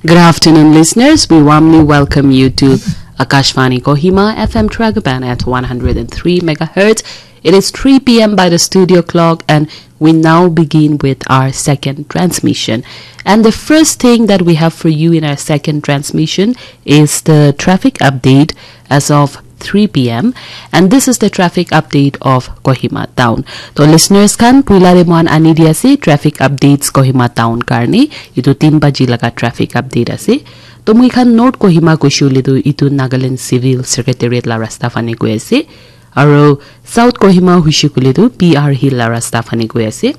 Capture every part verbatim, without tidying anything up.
Good afternoon, listeners. We warmly welcome you to Akashvani Kohima F M Tragaban at one hundred and three megahertz. It is three p m by the studio clock, and we now begin with our second transmission. And the first thing that we have for you in our second transmission is the traffic update as of three p m, and this is the traffic update of Kohima town. To listeners khan, puila de moan ani di ase traffic updates Kohima town karni. Itu tin baji laga traffic update ase. To moi khan North Kohima kuishe hoile tu itu Nagaland Civil Secretariat la rasta phane goi ase. Aro South Kohima huishe koile tu P R Hill la rasta phane goi ase.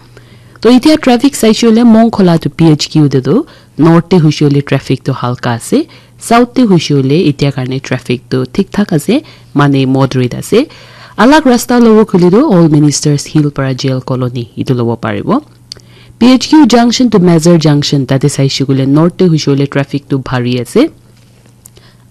To itia traffic saishe hoile Mongkhola to P H Q te tu, North te huishe hoile traffic tu halka ase, South te huishe hoile itia karne traffic tu thik thak ase, mane moderate ase. Alag rasta lobo koile tu Old Ministers Hill para Jail Colony itu lobo paribo. P H Q junction to Major junction tate saishe koile North te huishe hoile traffic tu bhari ase.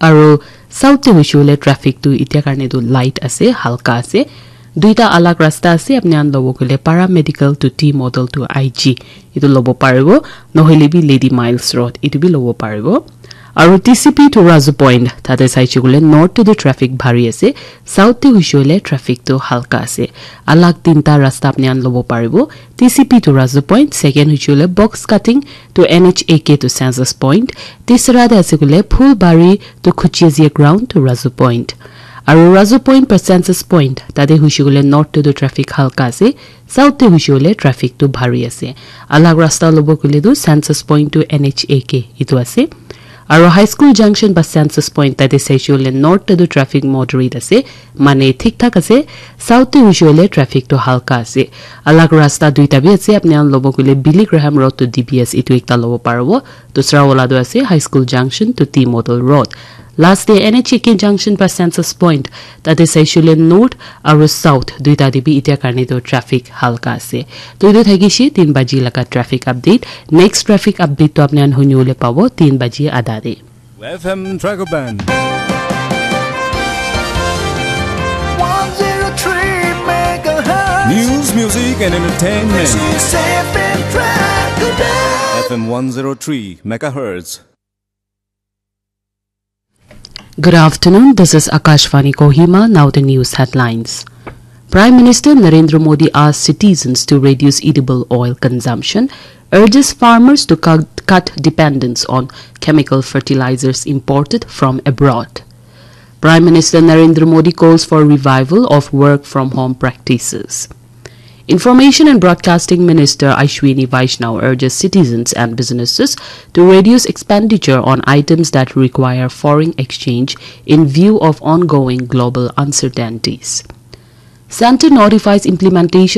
Aro South te huishe hoile traffic tu itia karne tu light ase, halka ase. Duita alag rasta ase, apni khan lobo koile Paramedical to T Model to I G itu lobo paribo, nohoile bi Lady Miles Road itu bi lobo paribo. Aro T C P to Razu Point tate saishe koile North te tu traffic bhari ase, South te huishe hoile traffic tu halka ase. Alag tinta rasta apni khan lobo paribo, T C P to Razu Point, second huishe hoile Box Cutting to N H A K to Census Point, tisra te ase koile Phulbari to Khuchezia Ground to Razu Point. Aro Razu Point para Census Point, tate huishe koile North te tu traffic halka ase, South te huishe hoile traffic tu bhari ase. Alag rasta lobo koile tu Census Point to N H A K itu ase. Aro High School Junction ba Census Point tate saishe hoile North te tu traffic moderate ase, mane thik thak ase. South te huishe hoile traffic tu halka ase. Alag rasta duita bi ase, apni khan lobo koile Billy Graham Road to D B S itu ekta lobo paribo. Dusra wala tu ase High School Junction to T Model Road. Last te N H A K Junction ba Census Point, tate saishe hoile North aro South duita te bi itia karne tu traffic halka ase. To itu thakishe tin baji laga traffic update. Next traffic update tu apni khan huni bole pabo tin baji adha te. F M Dragoban. One zero three megahertz. News, music, and entertainment. This is F M Dragoban. F M one zero three megahertz. Good afternoon. This is Akashvani Kohima. Now the news headlines. Prime Minister Narendra Modi asked citizens to reduce edible oil consumption, urges farmers to cut, cut dependence on chemical fertilizers imported from abroad. Prime Minister Narendra Modi calls for revival of work from home practices. Information and Broadcasting Minister Ashwini Vaishnaw urges citizens and businesses to reduce expenditure on items that require foreign exchange in view of ongoing global uncertainties. Center notifies implementation